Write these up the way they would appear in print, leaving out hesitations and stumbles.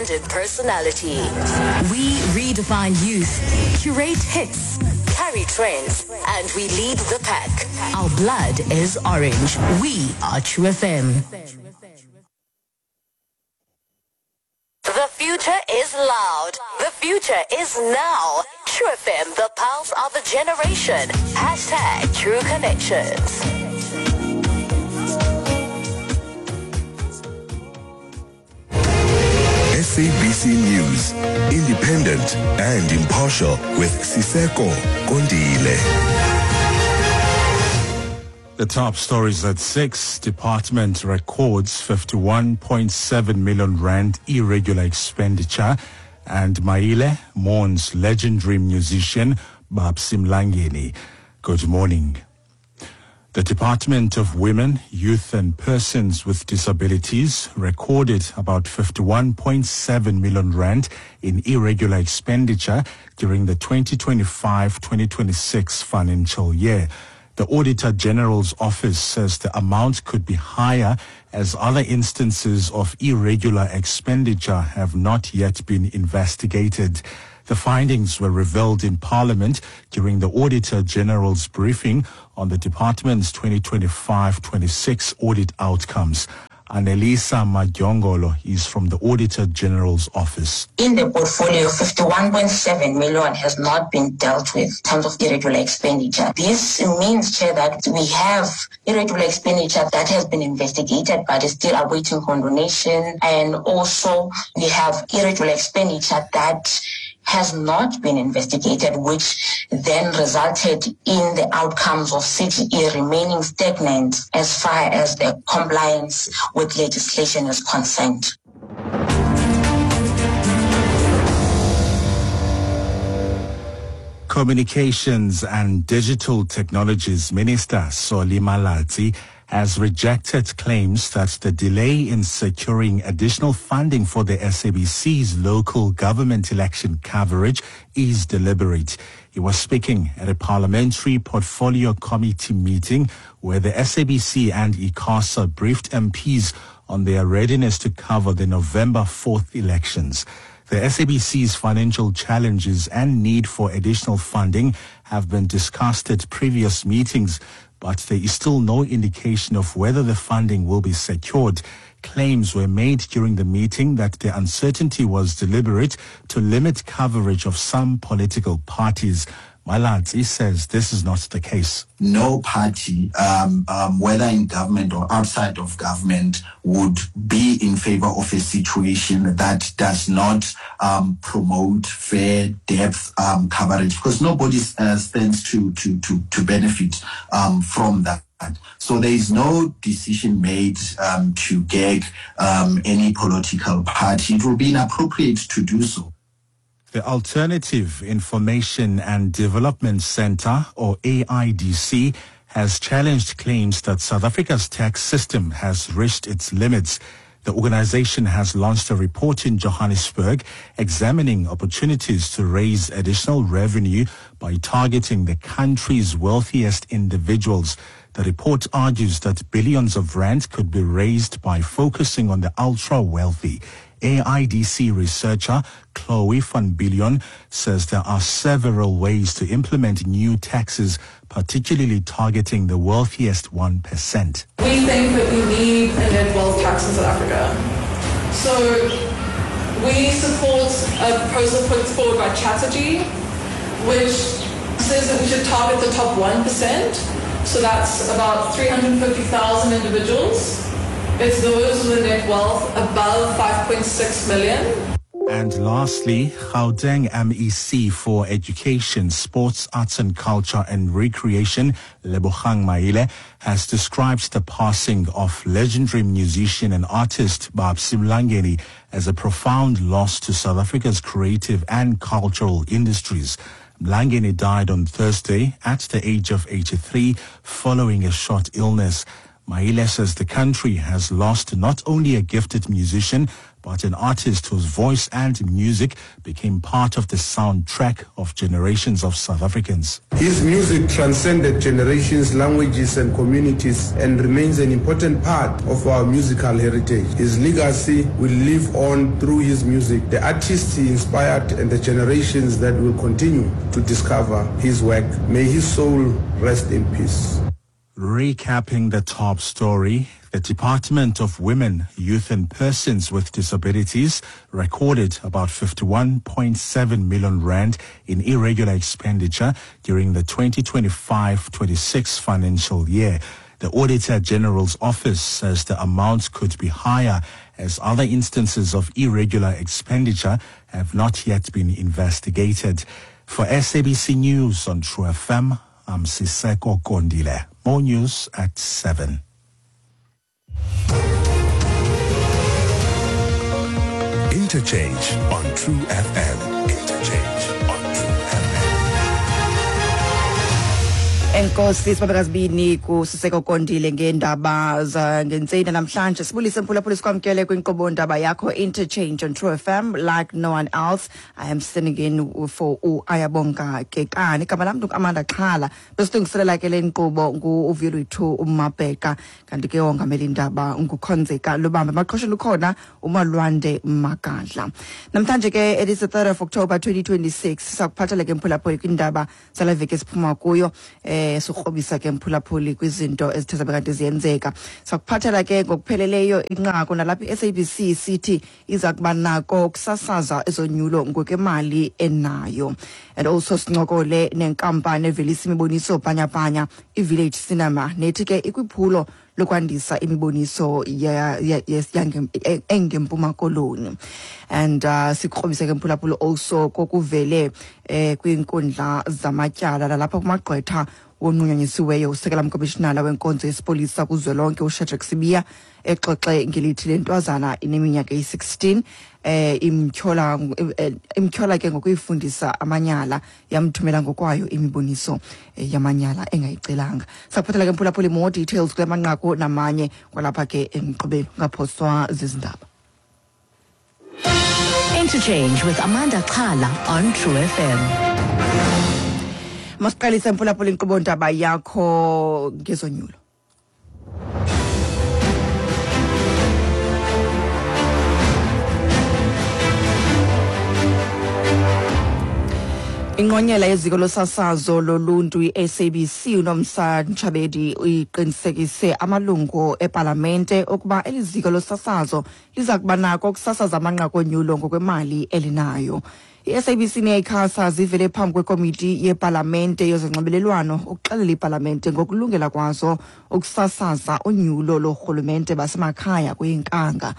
brand and personality. We redefine youth, curate hits, carry trends, and we lead the pack. Our blood is orange. We are True FM. The future is loud. The future is now. True FM, the pulse of a generation. Hashtag True Connections. SABC News, independent and impartial with Siseko Kondile. The top stories at 6. Department records 51.7 million rand irregular expenditure, and Maile mourns legendary musician Babsy Mlangeni. Good morning. The Department of Women, Youth and Persons with Disabilities recorded about 51.7 million rand in irregular expenditure during the 2025-2026 financial year. The Auditor General's office says the amount could be higher as other instances of irregular expenditure have not yet been investigated. The findings were revealed in Parliament during the Auditor General's briefing on the department's 2025-26 audit outcomes. Anelisa Madyongolo is from the Auditor General's office. In the portfolio, 51.7 million has not been dealt with in terms of irregular expenditure. This means, Chair, that we have irregular expenditure that has been investigated but is still awaiting condonation. And also we have irregular expenditure that has not been investigated, which then resulted in the outcomes of CGE remaining stagnant as far as the compliance with legislation is concerned. Communications and Digital Technologies Minister Solly Malatsi has rejected claims that the delay in securing additional funding for the SABC's local government election coverage is deliberate. He was speaking at a parliamentary portfolio committee meeting where the SABC and ICASA briefed MPs on their readiness to cover the November 4th elections. The SABC's financial challenges and need for additional funding have been discussed at previous meetings, but there is still no indication of whether the funding will be secured. Claims were made during the meeting that the uncertainty was deliberate to limit coverage of some political parties. Malatsi says this is not the case. No party, whether in government or outside of government, would be in favor of a situation that does not promote fair depth coverage, because nobody stands to benefit from that. So there is no decision made to gag any political party. It will be inappropriate to do so. The Alternative Information and Development Center, or AIDC, has challenged claims that South Africa's tax system has reached its limits. The organization has launched a report in Johannesburg examining opportunities to raise additional revenue by targeting the country's wealthiest individuals. The report argues that billions of rand could be raised by focusing on the ultra-wealthy. AIDC researcher Chloe van Billion says there are several ways to implement new taxes, particularly targeting the wealthiest 1%. We think that we need a net wealth tax in South Africa. So we support a proposal put forward by Chatterjee, which says that we should target the top 1%. So that's about 350,000 individuals. It's those with a net wealth above 5.6 million. And lastly, Gauteng MEC for Education, Sports, Arts and Culture and Recreation, Lebogang Maile, has described the passing of legendary musician and artist Babsy Mlangeni as a profound loss to South Africa's creative and cultural industries. Mlangeni died on Thursday at the age of 83 following a short illness. Maile says the country has lost not only a gifted musician, but an artist whose voice and music became part of the soundtrack of generations of South Africans. His music transcended generations, languages and communities and remains an important part of our musical heritage. His legacy will live on through his music, the artists he inspired and the generations that will continue to discover his work. May his soul rest in peace. Recapping the top story, the Department of Women, Youth and Persons with Disabilities recorded about 51.7 million rand in irregular expenditure during the 2025-26 financial year. The Auditor General's office says the amount could be higher as other instances of irregular expenditure have not yet been investigated. For SABC News on True FM, I'm Siseko Kondile. More news at 7. Interchange on True FM. Interchange on True FM. Enkosi sibabekazibini kuSiseko Kondile ngeendaba zangentseni namhlanje. Sibulise mphulaphuli, sikwamkele kwinkqubo ndaba yakho Interchange on True FM like no one else. I am sitting in for uAyabonga Kekani. Igama lam Amanda Xhala. Besilungiselela ke le nkqubo ngu-Uvuyolwethu uMabheka, kanti ke wongamela indaba nguKhonzeka Lubambe. Maqhosheni ukhona uMalwande Magadla. Namhlanje ke it is the 3rd of October 2026. Sakuphathela ke mphulaphuli kwindaba zale veki esiphuma kuyo. Sikrobisa ke mphulaphuli kwizinto ezithe zabe kanti ziyenzeka. Sakuphathela ke ngokupheleleyo inqaku nalapha i-SABC sithi iza kuba nako ukusasaza ezonyulo ngokwemali enayo. And also sincokole nenkampani evelisa imiboniso bhanyabhanya iVillage Cinema, nethi ke ikwiphulo lokwandisa imiboniso engeMpuma Koloni. And sikrobise ke mphulaphuli also kokuvele kwiinkundla zamatyala lalapha kumagqwetha wonqunyanyisiweyo usekela mkomishinala wenkonzo yesipolisa kuzwelonke uShadrack Sibiya exoxe ngelithi le ntwazana ineminyaka eyi-16 imtyhola ke ngokuyifundisa amanyala, yamthumela ngokwayo imiboniso yamanyala engayicelanga. Sakuphathela ke mphulaphuli more details kule manqaku namanye kwalapha ke emqubeni, ungaphoswa zizindaba. Interchange with Amanda Xhala on True FM. Masiqalise mphulaphuli inkqubo ndaba yakho ngezonyulo. Ingqonyela yeziko losasazo loluntu i-SABC uNomsa Ntshabedi uyiqinisekise amalungu epalamente ukuba eli ziko losasazo liza kuba nako ukusasaza amanqaku onyulo ngokwemali elinayo. I-SABC neICASA zivele phambi kwekomiti yepalamente yezonxibelelwano ukuxelela ipalamente ngokulungela kwazo ukusasaza unyulo loorhulumente basemakhaya kwinkanga.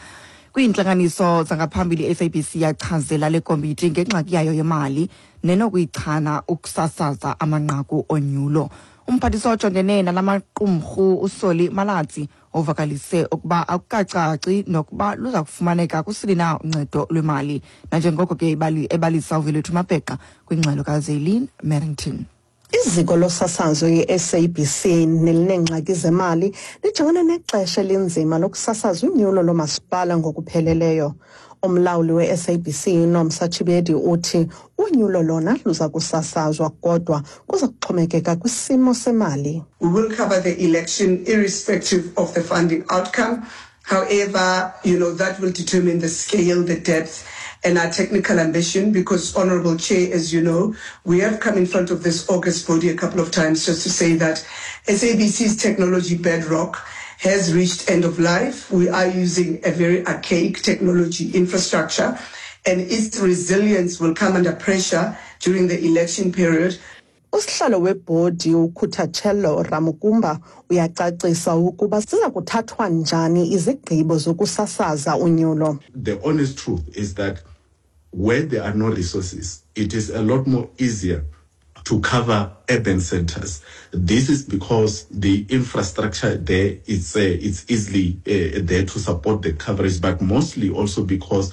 Kwiintlanganiso zangaphambili i-SABC yachazela le komiti ngengxaki yayo yemali nenokuyichana ukusasaza amanqaku onyulo. Umphathiswa ojongene nalamaqumrhu uSolly Malatsi uvakalise ukuba akukacaci nokuba luza kufumaneka kusini na uncedo lwemali, nanjengoko ke ebalisa uVelethu Mabheqa kwingxelo kaZeline Merrington. Iziko losasazo i-SABC nelineengxaki zemali lijongene nexesha elinzima lokusasaza unyulo lomasipala ngokupheleleyo. Umlawuli we-SABC Nomsa Chibedi uthi unyulo lona luza kusasazwa kodwa kuza kuxhomekeka kwisimo semali. We will cover the election irrespective of the funding outcome. However, that will determine the scale, the depth, and our technical ambition, because, Honorable Chair, as you know, we have come in front of this August body a couple of times just to say that SABC's technology bedrock has reached end of life. We are using a very archaic technology infrastructure, and its resilience will come under pressure during the election period. Usihlalo webhodi uKhuthachelo Ramukumba uyacacisa ukuba siza kuthathwa njani izigqibo zokusasaza unyulo. The honest truth is that where there are no resources, it is a lot more easier to cover urban centers. This is because the infrastructure there is it's easily there to support the coverage, but mostly also because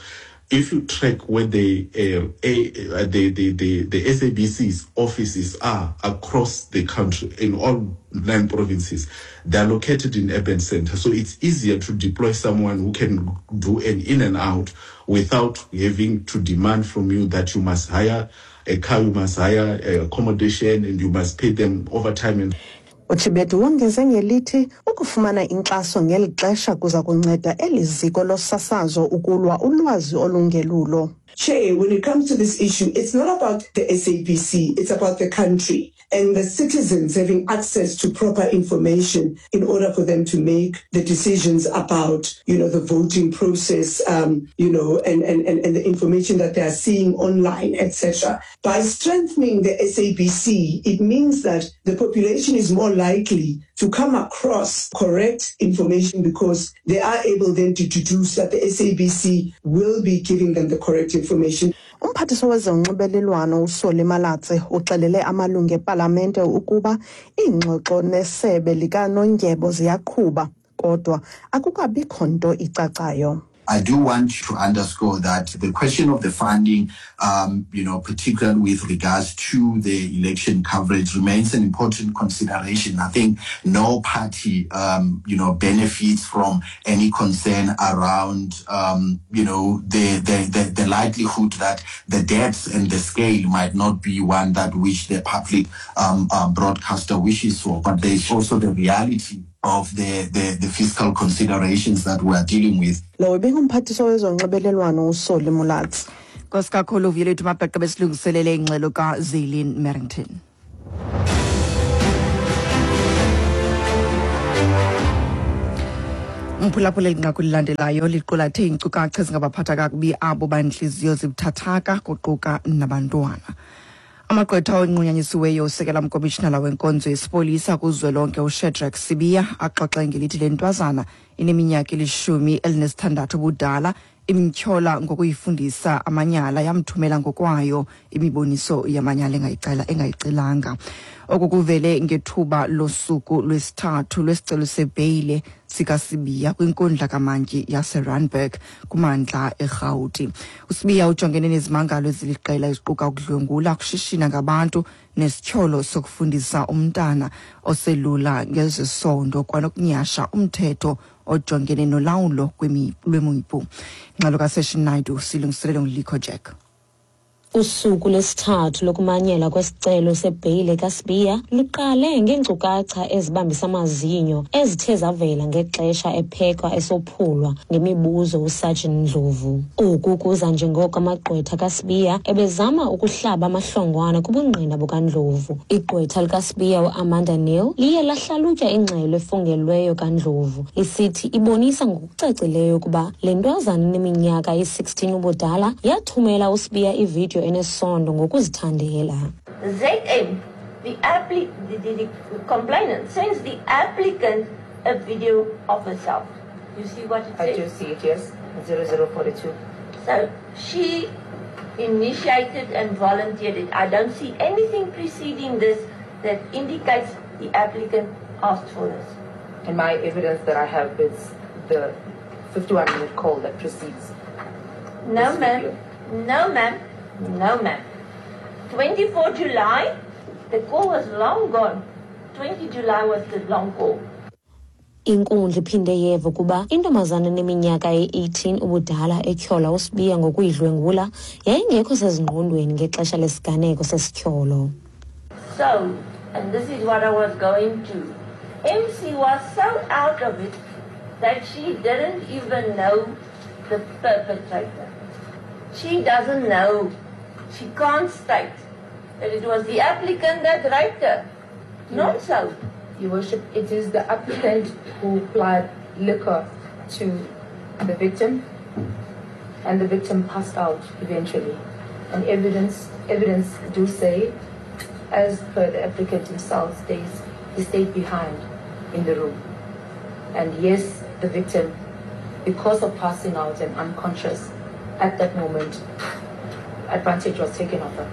If you track where the the SABC's offices are across the country in all nine provinces, they are located in urban centers. So it's easier to deploy someone who can do an in and out without having to demand from you that you must hire a car, you must hire accommodation, and you must pay them overtime. And UChibethu wongeze ngelithi ukufumana inkxaso ngeli xesha kuza kunceda eli ziko losasazo ukulwa ulwazi olungelulo. Chair, when it comes to this issue, it's not about the SABC, it's about the country and the citizens having access to proper information in order for them to make the decisions about, you know, the voting process, you know, and, and, and, and the information that they are seeing online, etc. By strengthening the SABC, it means that the population is more likely to come across correct information because they are able then to deduce that the SABC will be giving them the correct information. Umphathiswa wezonxibelelwano uSolly Malatsi uxelele amalungu epalamente ukuba iingxoxo nesebe likanondyebo ziyaqhuba kodwa akukabikho nto icacayo. I do want to underscore that the question of the funding, you know, particularly with regards to the election coverage, remains an important consideration. I think no party, you know, benefits from any concern around, you know, the, the, the, the likelihood that the depth and the scale might not be one that which the public broadcaster wishes for. But there's also the reality of the, the, the fiscal considerations that we are dealing with. Lo ibingumphathiswa wezonxibelelwano uSolly Malatsi. Nkosi kakhulu Vuyolethu Mabheqe besilungiselele ingxelo kaZelin Merrington. Umphulaphula elinqaku lilandelayo liqulathe iinkcukacha ezingabaphatha kakubi abo bantliziyo zibuthathaka kuquka nabantwana. Amagqwetha onqunyanyisiweyo usekela mkomishinala wenkonzo yesipolisa kuzwelonke uShadrack Sibiya axoxe ngelithi le ntwazana ineminyaka eli-16 ubudala imtyhola ngokuyifundisa amanyala yamthumela ngokwayo imiboniso yamanyala engayicela engayicelanga. Oku kuvele ngethuba losuku lwesithathu lwesicelo sebheyile sikaSibiya kwinkundla kamantyi yaseRandburg kumantla eRhawuti. USibiya ujongene nezimangalo eziliqela eziquka ukudlwengula, ukushishina ngabantu nesityholo sokufundisa umntana oselula ngezesondo kwanokunyasha umthetho ojongene nolawulo lwemipu. Ingxelo kaSession Naidu silungiselelwe nguLikho Jack. Usuku lwesithathu lokumanyelwa kwesicelo sebheyile kaSibiya luqale ngeenkcukacha ezibambisa amazinyo ezithe zavela ngexesha ephekwa esophulwa ngemibuzo uSergeant Ndlovu. Oku kuza njengoko amagqwetha kaSibiya ebezama ukuhlaba amahlongwane kubungqina bukaNdlovu. Igqwetha likaSibiya uAmanda Neal liye lahlalutya ingxelo efungelweyo kaNdlovu lisithi ibonisa ngokucacileyo ukuba le ntwazana ineminyaka eyi-16 ubudala yathumela uSibiya ividiyo enesondo ngokuzithandela. ZM, the, appli- the, the, the complainant, sends the applicant a video of herself. You see what it I says? do see it, yes. 0042. So she initiated and volunteered it. I don't see anything preceding this that indicates the applicant asked for this. And my evidence that I have is the 51 minute call that precedes. No, this ma'am. video. No, ma'am. No, ma'am. 24 July, the call was long gone. 20 July was the long call. Inkundla iphinde yeva ukuba intombazana eneminyaka eyi-18 ubudala etyhola uSibiya ngokuyidlwengula yayingekho sezingqondweni ngexesha lesiganeko sesityholo. So, and this is what I was going to. MC was so out of it that she didn't even know the perpetrator. She doesn't know. She can't state that it was the applicant that raped her. Not so. Your Worship, it is the applicant who applied liquor to the victim, and the victim passed out eventually. And evidence, evidence do say, as per the applicant himself states, he stayed behind in the room. And yes, the victim, because of passing out and unconscious at that moment, advantage was taken of her.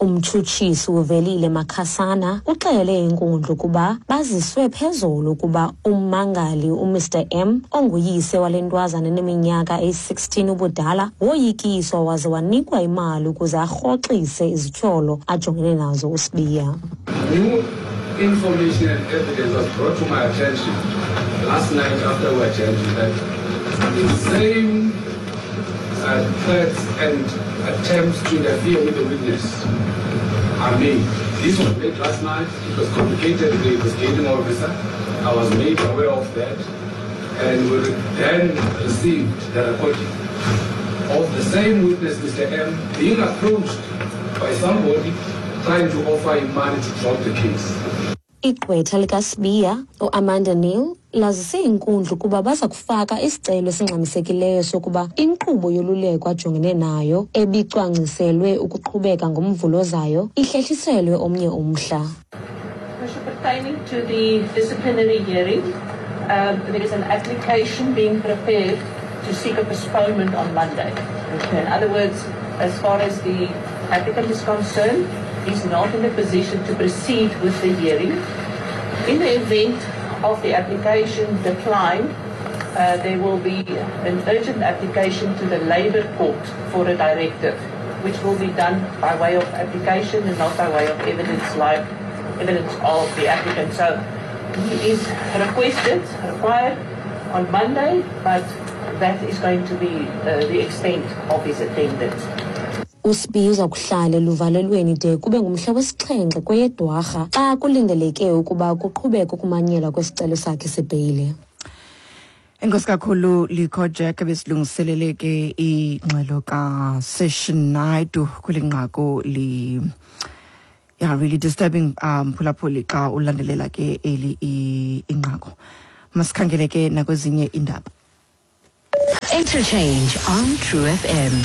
Umtshutshisi uVelile Makhasana uxele inkundla ukuba baziswe phezulu ukuba ummangali uMr M onguyise wale ntwazana eneminyaka eyi-16 ubudala woyikiswa waze wanikwa imali ukuze arhoxise izityholo ajongene nazo uSibiya. New information and evidence was brought to my attention last night after we adjourned that the same threats and attempts to interfere with the witness are made. This was made last night. It was communicated to the investigating officer. I was made aware of that, and we then received the recording of the same witness, Mr. M, being approached by somebody trying to offer him money to drop the case. Igqwetha likaSibiya, uAmanda Neal, lazise inkundla ukuba baza kufaka isicelo esingxamisekileyo sokuba inkqubo yoluleko ajongene nayo ebicwangciselwe ukuqhubeka ngomvulo ozayo ihlehliselwe omnye umhla. Pertaining to the disciplinary hearing, there is an application being prepared to seek a postponement on Monday. In other words, as far as the applicant is concerned, he's not in a position to proceed with the hearing. In the event of the application declined, there will be an urgent application to the Labour Court for a directive, which will be done by way of application and not by way of evidence, like evidence of the applicant. So he is required on Monday, but that is going to be the extent of his attendance. USibiya uza kuhlala eluvalelweni de kube ngumhla wesixhenxe kweyeDwarha xa kulindeleke ukuba kuqhubeke ukumanyelwa kwesicelo sakhe sebheyile. Enkosi kakhulu Likho Jack, besilungiselele ke ingxelo kaSession Naidu kweli nqaku li yeah, really disturbing, phulaphuli, xa ulandelela ke eli inqaku. Masikhangele ke nakwezinye indaba. Interchange on True FM.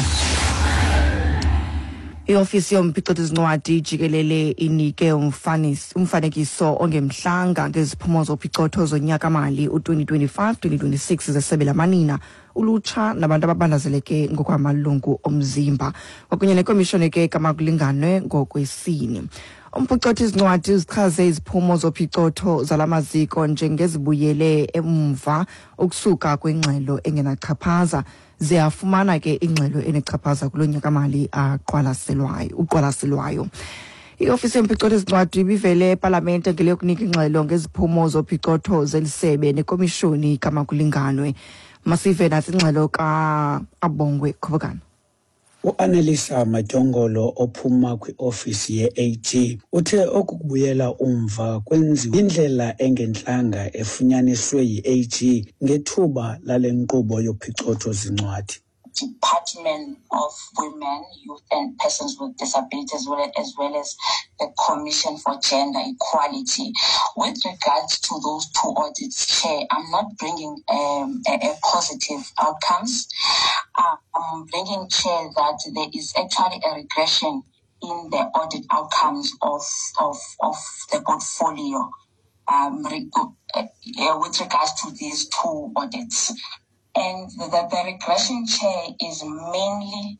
Iofisi yomphicothi zincwadi jikelele inike umfanekiso ongemhlanga ngeziphumo zophicotho zonyaka-mali u-2025-2026 zesebe lamanina, ulutsha nabantu ababandazeleke ngokwamalungu omzimba kwakunye nekomishoni ke kamakulinganwe ngokwesini. Umphicothi izincwadi uzichaze iziphumo zophicotho zala maziko njengezibuyele emva ukusuka kwingxelo engenachaphaza, ziyafumana ke ingxelo enechaphaza kulo nyaka-mali aqwalaselwayo uqwalaselwayo. Iofisi yomphicothi ezincwadi ibivele epalamente ngele yokunika ingxelo ngeziphumo zophicotho zelisebe nekomishoni kamakulinganwe. Masive nasi ingxelo ka-Abongwe Khobokana. U-Anelisa Matyongolo ophuma kwiofisi ye-AG uthe oku kubuyela umva kwenziwa indlela engentlanga efunyaniswe yi-AG ngethuba lale nkqubo yophicotho zincwadi. Department of Women, Youth and Persons with Disabilities, as well as the Commission for Gender Equality. With regards to those two audits, Chair, I'm not bringing a positive outcomes. I'm bringing, Chair, that there is actually a regression in the audit outcomes of the portfolio with regards to these two audits. And the regression, Chair, is mainly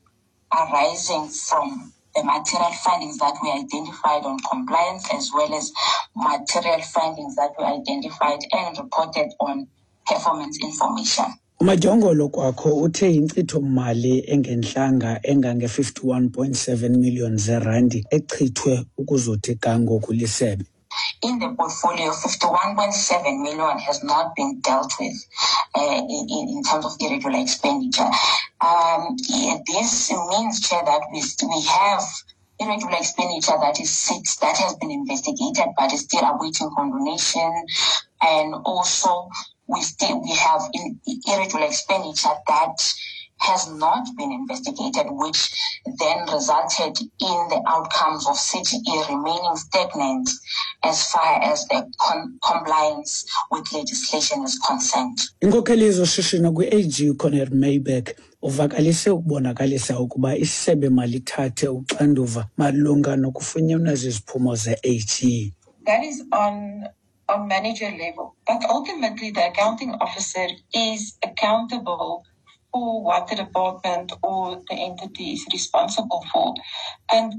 arising from the material findings that we identified on compliance, as well as material findings that were identified and reported on performance information. UMadyongolo kwakho uthe inkcitho-mali engentlanga engange-51.7 million zerandi echithwe ukuzothi ga ngoku lisebe. In the portfolio, 51.7 million has not been dealt with in terms of irregular expenditure. Yeah, this means, Chair, that we have irregular expenditure that is sits, that has been investigated but is still awaiting condonation, and also we have irregular expenditure that has not been investigated, which then resulted in the outcomes of CGE remaining stagnant as far as the compliance with legislation is concerned. Inkokheli yezoshishino kwi-AG uCornel Mayberg uvakalise ukubonakalisa ukuba isebe malithathe uxanduva malunga nokufunyanwa ziziphumo ze-AG. That is on manager level. But ultimately, the accounting officer is accountable for what the department or the entity is responsible for. And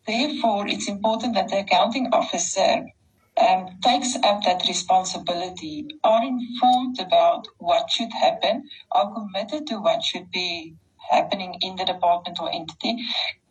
Therefore, it's important that the accounting officer takes up that responsibility, are informed about what should happen, are committed to what should be happening in the department or entity,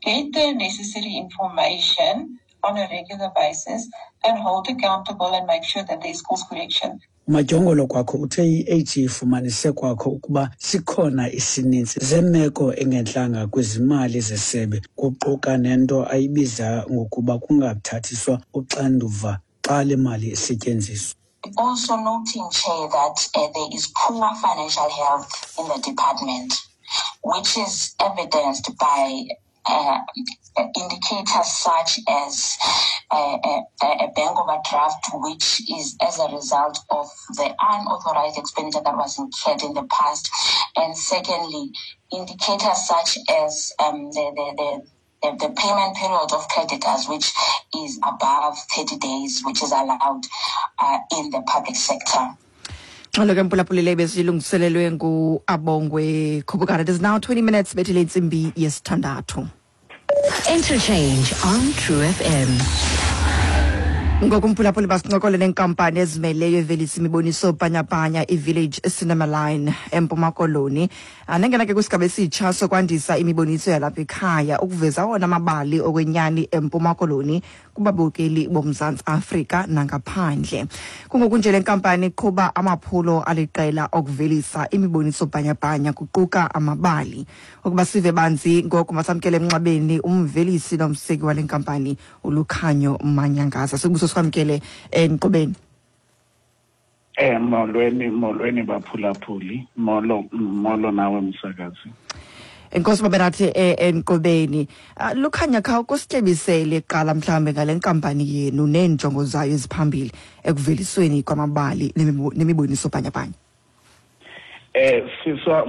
get the necessary information on a regular basis, and hold accountable and make sure that there's course correction. UMadyongolo kwakho uthe i-AG ifumanise kwakho ukuba sikhona isininzi zemeko engentlanga kwizimali zesebe, kuquka nento ayibiza ngokuba kungathathiswa uxanduva xa le mali isetyenziswa. Also noting, Chair, that there is poor financial health in the department, which is evidenced by indicators such as a bank overdraft, which is as a result of the unauthorized expenditure that was incurred in the past. And secondly, indicators such as the payment period of creditors, which is above 30 days, which is allowed in the public sector. Xolo ke mphulaphuli, le besilungiselelwe nguAbongwe Khubukana. It is now 20 minutes bethile intsimbi yesithandathu. Interchange on True FM. Ngoku mphulaphuli, basincokole nenkampani ezimeleyo evelisa imiboniso bhanyabhanya, iVillage Cinema Line eMpuma Koloni. Nengena ke kwisigaba esitsha sokwandisa imiboniso yalapha ekhaya ukuveza awona mabali okwenyani eMpuma Koloni kubabukeli boMzantsi Afrika nangaphandle. Kungoku nje le nkampani iqhuba amaphulo aliqela okuvelisa imiboniso bhanyabhanya, kuquka amabali. Ukuba sive banzi ngoku, masamkele emnxebeni umvelisi nomseki wale nkampani, uLukhanyo Manyangaza. Sikubuso, sikwamkele enkqubeni. Molweni, molweni baphulaphuli. Molo, molo nawe msakazi. Enkosi babenathi enkqubeni. Lukhanya, khawukusityebisele kuqala mhlawumbe ngale nkampani yenu neenjongo zayo eziphambili ekuvelisweni kwamabali nemiboniso bhanyabhanya. Siswa.